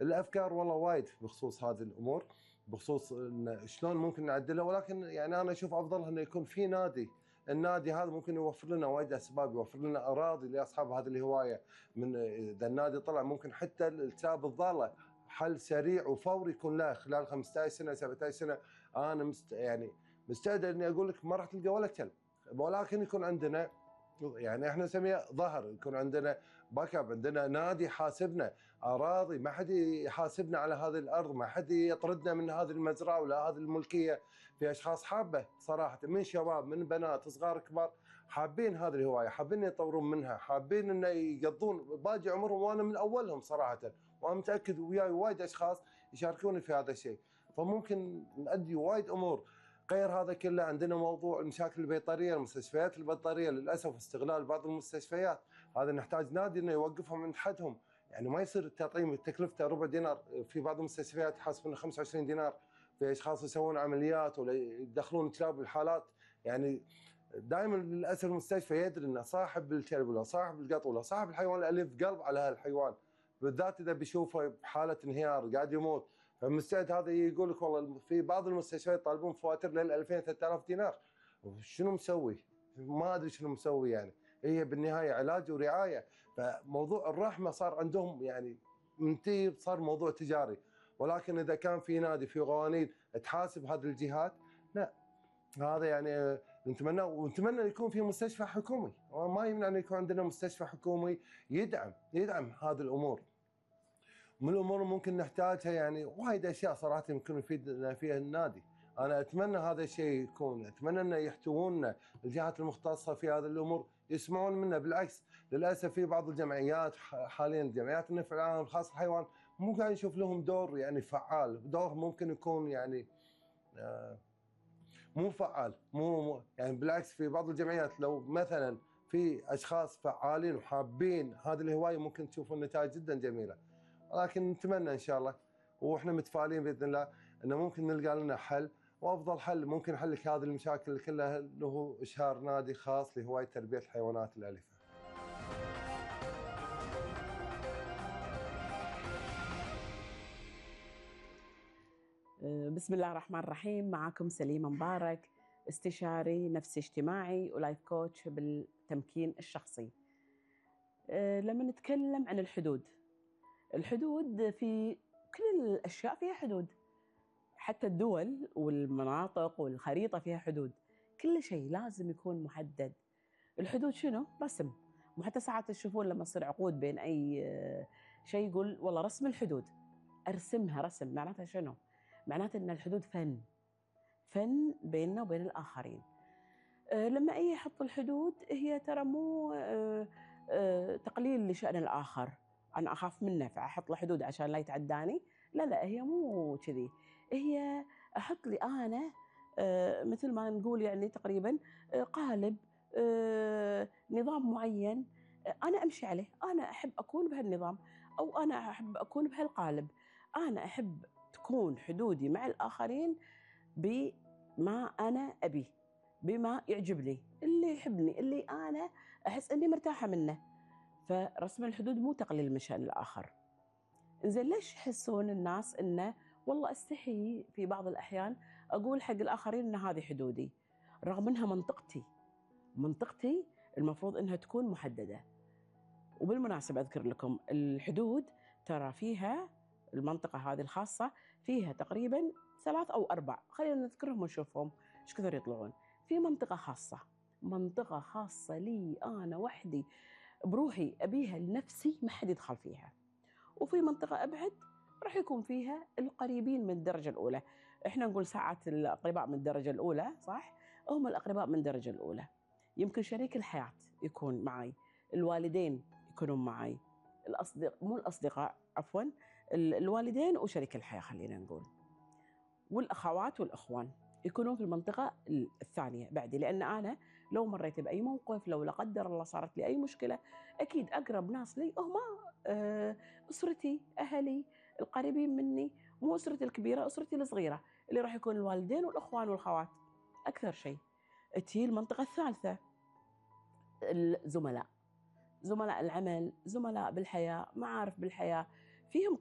الافكار والله وايد بخصوص هذه الامور، بخصوص إن شلون ممكن نعدلها، ولكن يعني انا اشوف افضل انه يكون في نادي. النادي هذا ممكن يوفر لنا وايد اسباب، يوفر لنا اراضي لاصحاب هذه الهوايه. من اذا النادي طلع ممكن حتى الكلاب الضاله حل سريع وفوري يكون له خلال 15 سنه 17 سنه. انا يعني مستعد اني اقول لك ما راح تلقى ولا كلب، ولكن يكون عندنا يعني احنا نسميه ظهر، يكون عندنا باك اب، عندنا نادي يحاسبنا، اراضي ما حد يحاسبنا على هذه الارض، ما حد يطردنا من هذه المزرعه ولا هذه الملكيه. في اشخاص حابه صراحه، من شباب من بنات صغار كبار، حابين هذه الهوايه، حابين يطورون منها، حابين انه يقضون باقي عمرهم، وانا من اولهم صراحه، وانا متاكد وياي وايد اشخاص يشاركوني في هذا الشيء. فممكن نؤدي وايد امور. غير هذا كله عندنا موضوع المشاكل البيطريه، المستشفيات البيطريه للاسف استغلال بعض المستشفيات، هذا نحتاج نادي انه يوقفهم عند حدهم. يعني ما يصير التطعيم تكلفته ربع دينار، في بعض المستشفيات يحاسبون 25 دينار، في اشخاص يسوون عمليات ولا يدخلون كلاب الحالات. يعني دائما للاسف المستشفى يدري ان صاحب الكلب ولا صاحب القط ولا صاحب الحيوان الاليف قلب على هالحيوان، بالذات اذا بيشوفه بحاله انهيار قاعد يموت. فالمستعد هذا يقول لك والله في بعض المستشفيات يطالبون فواتير لل 2000 3000 دينار. شنو مسوي؟ ما ادري شنو مسوي يعني. هي بالنهايه علاج ورعايه، فموضوع الرحمه صار عندهم يعني منتهي، صار موضوع تجاري. ولكن اذا كان في نادي في قوانين تحاسب هذه الجهات، لا هذا يعني نتمنى، ونتمنى يكون في مستشفى حكومي، وما يمنع ان يكون عندنا مستشفى حكومي يدعم هذه الامور. من الامور ممكن نحتاجها يعني وايد اشياء صراحه يمكن يفيدنا فيها النادي. انا اتمنى هذا الشيء يكون، اتمنى انه يحتووننا الجهات المختصه في هذه الامور، يسمعون منا. بالعكس للاسف في بعض الجمعيات حاليا، جمعيات النفع العام الخاص بالحيوان، مو قاعد نشوف لهم دور يعني فعال، دور ممكن يكون يعني مو فعال، مو يعني بالعكس في بعض الجمعيات لو مثلا في اشخاص فعالين وحابين هذه الهوايه ممكن تشوفون نتائج جدا جميله. ولكن نتمنى ان شاء الله، واحنا متفائلين باذن الله انه ممكن نلقى لنا حل، وافضل حل ممكن حل لك هذه المشاكل كلها اللي هو اشهار نادي خاص لهوايه تربيه الحيوانات الاليفه. بسم الله الرحمن الرحيم. معكم سليمة مبارك، استشاري نفسي اجتماعي ولايف كوتش بالتمكين الشخصي. لما نتكلم عن الحدود في كل الأشياء فيها حدود، حتى الدول والمناطق والخريطة فيها حدود، كل شيء لازم يكون محدد. الحدود شنو؟ رسم. وحتى ساعات تشوفون لما يصير عقود بين أي شيء يقول والله رسم الحدود، أرسمها رسم. معناتها شنو؟ معناته أن الحدود فن بيننا وبين الآخرين. لما أي يحط الحدود، هي ترى مو تقليل لشأن الآخر، أنا أخاف منه فأحط له حدود عشان لا يتعداني. لا، هي مو كذي. هي أحط لي أنا مثل ما نقول يعني تقريبا قالب، نظام معين أنا أمشي عليه. أنا أحب أكون بهالنظام، أو أنا أحب أكون بهالقالب. أنا أحب تكون حدودي مع الآخرين بما أنا أبيه، بما يعجبني، اللي يحبني، اللي أنا أحس أني مرتاحة منه. فرسم الحدود مو تقليل من شأن الآخر. إنزين ليش يحسون الناس إنه والله أستحي في بعض الأحيان أقول حق الآخرين إن هذه حدودي، رغم إنها منطقتي المفروض إنها تكون محددة. وبالمناسبة أذكر لكم الحدود ترى فيها المنطقة هذه الخاصة فيها تقريبا 3 أو 4، خلينا نذكرهم ونشوفهم إيش كثر يطلعون. في منطقة خاصة لي أنا وحدي بروحي، أبيها لنفسي، ما حد يدخل فيها. وفي منطقة أبعد راح يكون فيها القريبين من الدرجة الأولى. إحنا نقول ساعات الأقرباء من الدرجة الأولى، صح؟ هم الأقرباء من الدرجة الأولى. يمكن شريك الحياة يكون معي، الوالدين يكونون معي، الأصدقاء عفواً، الوالدين وشريك الحياة خلينا نقول، والأخوات والأخوان يكونون في المنطقة الثانية بعدي. لأن أنا لو مريت بأي موقف، لو لا قدر الله صارت لي أي مشكلة، أكيد أقرب ناس لي هم أسرتي، أهلي القريبين مني، مو أسرتي الكبيرة، أسرتي الصغيرة اللي راح يكون الوالدين والأخوان والخوات أكثر شيء. تي المنطقة الثالثة الزملاء، زملاء العمل، زملاء بالحياة، معارف بالحياة، فيهم